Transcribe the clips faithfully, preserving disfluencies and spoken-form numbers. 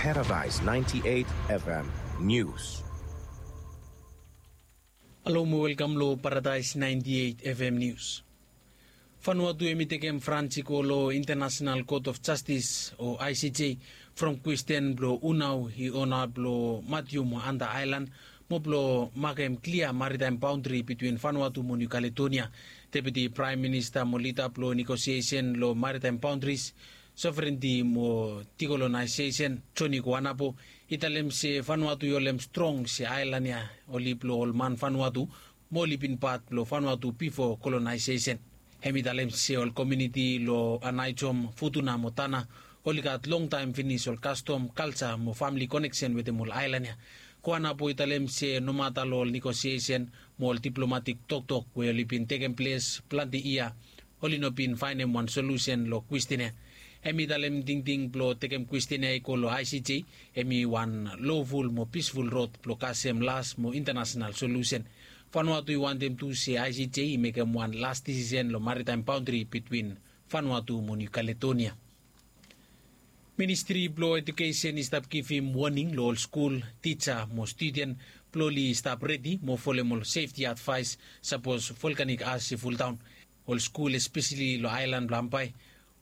Paradise ninety-eight F M News. Halo mo welkam lo Paradise ninety-eight F M News. Vanuatu hemi tekem frans i go lo International Court of Justice o I C J from kwestin blo hu nao i ona blo Matthew mo Hunter Island mo blo makem klia maritime boundary between Vanuatu mo New Caledonia. Deputy Prime Minister mo lida blo negotiation lo maritime boundaries, sovereignty mo decolonization, Johnny Kuanapo, i talem se Vanuatu i holem strong se aelan ya oli blo ol man Vanuatu mo oli bin pat blo Vanuatu bifo colonization. Hemi talem se ol komuniti lo Anaijom, Futuna mo Tana oli gat longtaem finis ol kastom, kalja mo famili koneksen wetem ol aelan ya. Kuanapo i talem se nomata lo ol negotiation mo ol diplomatik toktok we oli bin tekem ples plante yia, oli no bin faenem wan solusen lo kwestin ya. Hemi talem tingting blo tekem kwestin ya i go lo I C J, hemi wan loful mo pisful rod blo kasem las mo intanasenal solusen. Vanuatu i wantem tu se I C J i mekem wan las disisen lo maritime boundary between Vanuatu mo New Caledonia. Ministri blo Edukesen i stap givim woning lo ol skul, tija mo studen blo oli stap redi mo folem ol sefti advaes sapos volkanik as i fuldaon. Ol skul espeseli lo aelan blo Hambai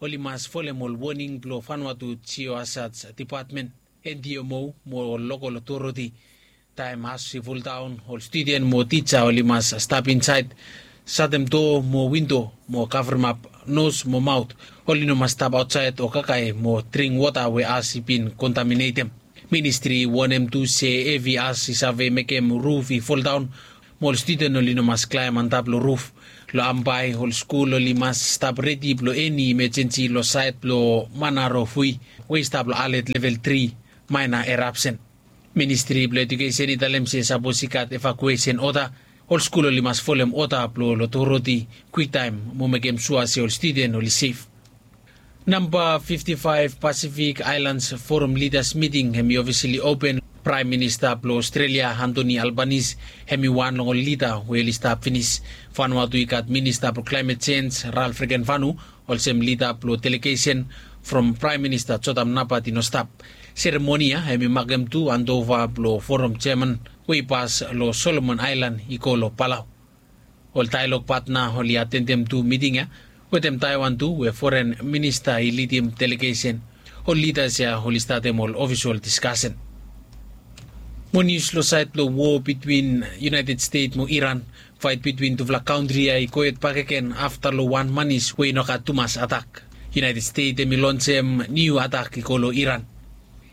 oli mas folem ol woning blo Vanuatu Geohazard Dipatmen, N D M O mo ol lokol otoriti. Taem as i fuldaon, ol studen mo tija oli mas stap insaed, satem doa mo windo mo kavremap nos mo maot. Oli no mas stap aotsaed o kakae mo dring wota we as i bin kontaminetem. Ministri i wonem tu se hevi as i save mekem ruf i foldaon mo ol studen oli no mas klaem antap lo ruf. Lo Hambai ol skul oli mas stap redi blo eni imejensi lo saed blo Manarofui we i stap lo alet level tri, maena erapsen. Ministri blo Edukesen i talem se sapos i gat evakuesen oda, ol skul oli mas folem oda blo ol otoriti kwiktaem mo mekem sua se ol studen oli sef. Namba fifti faef Pacific Islands Forum Leaders Meeting hemi ofisali open. Praem Minista blo Ostrelia Anthony Albanese hemi wan long ol lida we oli stap finis. Vanuatu i gat Minista blo Klaemet Jenj Ralph Regenvanu olsem lida blo delegesen from Praem Minista Jotam Napat i no stap. Seremoni ya hemi makem tu andova blo Forum Jeaman we i pas lo Solomon Aelan i go lo Palau. Ol daelog patna oli atendem tu miting ya wetem Taiwan tu we foren minista i lidim delegesen. Ol lidas ya oli statem ol ofisol diskasen. Mo nius lo saed blo wo bitwin United States mo Iran. Faet bitwin tufala kantri ya i gohed bakegen afta lo wan manis we i no gat tumas atak. United States hemi lonsem niu atak i go lo Iran.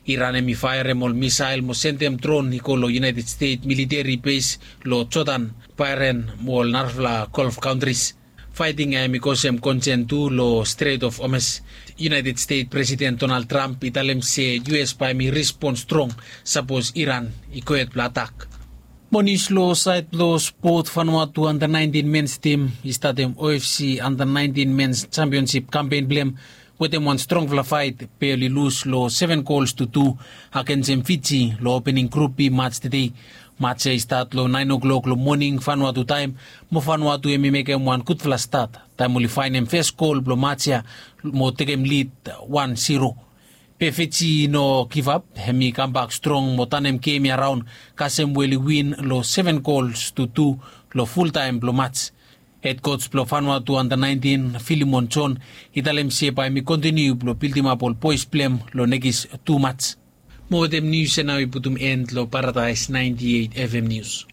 Iran hemi faerem ol misael mo sendem dron i go lo United States militeri bes lo Jodan, Bahrain mo ol narafala Golf kantris. Faeting ya hemi kosem konsen tu lo Strait of Hormuz. United States Presiden Donald Trump i talem se U S bae hemi respon strong sapos Iran i gohed blo atak. Mo nius lo saed blo spot, Vanuatu anda naentin mens tim i statem O F C anda naentin mens jampionsip kampen blem wetem wan strongfala faet be oli lus lo seven gols to tu agensem Fiji lo opening grup B mats tede. Mats ya i stat lo naen oklok lo moning Vanuatu taem mo Vanuatu hemi mekem wan gudfala stat taem oli faenem fes gol blo mats ya mo tekem lid wan zero. Be Fiji i no givap, hemi kambak strong mo tanem gem ya raon kasem we oli win lo seven gols to tu lo fultaem blo mats. Hed koj blo Vanuatu anda naentin Filimon John i talem se bae hemi kontiniu blo bildimap ol boes blem lo nekis tu mats. Mo wetem nius ya nao i putum en lo Paradaes naenti eit F M Nius.